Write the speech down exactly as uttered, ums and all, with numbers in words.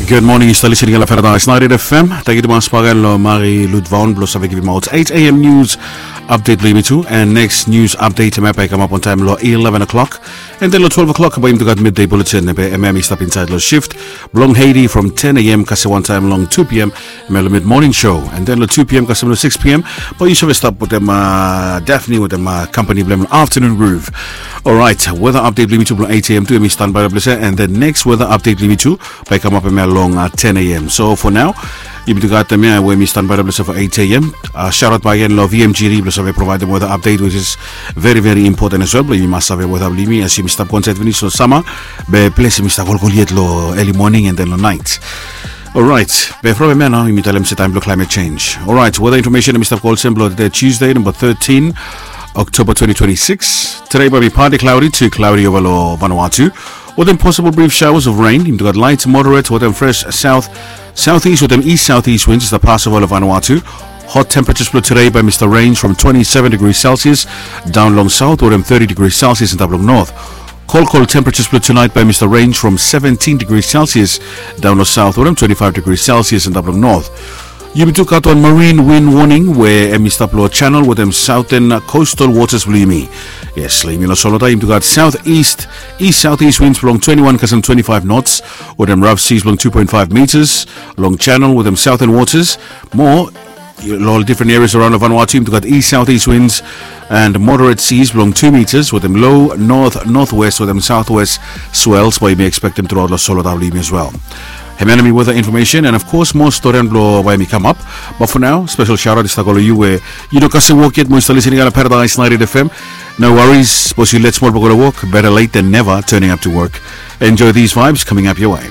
Gud moning, yu stap listening long Paradise ninety-eight F M. Tangkiu tumas bakegen long Mari Ludvaon blong save givimaot eight A M news update blong yumi tu. And next news update hemia bae i kamap on time long eleven o'clock. And then long twelve o'clock bae yumi tu gat midday bulletin, be hemia i stap insaed long shift blong Haiti from ten A M kasem wan taem long two P M, hemia long mid morning show. And then long two P M kasem long six P M bae yu save stap wetem Daphne wetem company blong hem long afternoon groove. Alright, weather update blong yumi tu blong eight A M tu hemi stanbae long ples ia. And the next weather update blong yumi tu bae i kamap hemia long ten A M. So for now, yumi tu gat hemia we hemi stanbae long ples ia for eight A M. Shout out bakegen long V M G D blong save provaedem weather update, which is very very important as well blong yumi mas save weather blong yumi as yumi stap go insaed finis long sama. Be ples hemi stap kolkol yet long early morning and then long naet. Alright, be from hemia nao yumi talem se taem blong climate change. Alright, weather information hemi stap go olsem blong tede Tuesday number thirteen October twenty twenty-six. Tede bae i be partly cloudy to cloudy ova long Vanuatu wetem possible brief showers of rain. Yumi tu gat light moderate wetem fresh south southeast wetem east southeast winds i stap pas ova long Vanuatu. Hot temperatures blong tede bae i stap range from twenty-seven degrees Celsius daon long south wetem thirty degrees Celsius antap long north. Kolkol temperatures blong tunaet bae i stap range from seventeen degrees Celsius daon long south wetem twenty-five degrees Celsius antap long north. Yumi tu gat wan marine wind warning we hemi stap long channel wetem southern coastal waters blong yumi. Yes, long yumi long solota yumi tu gat southeast east southeast winds blong twenty-one kasem twenty-five knots wetem rough seas blong two point five meters long channel wetem southern waters. Mo long ol different areas around long Vanuatu yumi tu gat east southeast winds and moderate seas blong two meters wetem low north northwest wetem southwest swells bae yumi expectem truaot long solota blong yumi as well. Hemia nao hemi weather information and of course mo storian blong bae hemi kamap. But for now, special shout out i stap go long yu we yu no kasem wok yet mo yu stap listening long Paradise ninety-eight F M. No worries, sapos yu let smol blong go long wok, better late than never turning up to work. Enjoy these vibes coming up your way.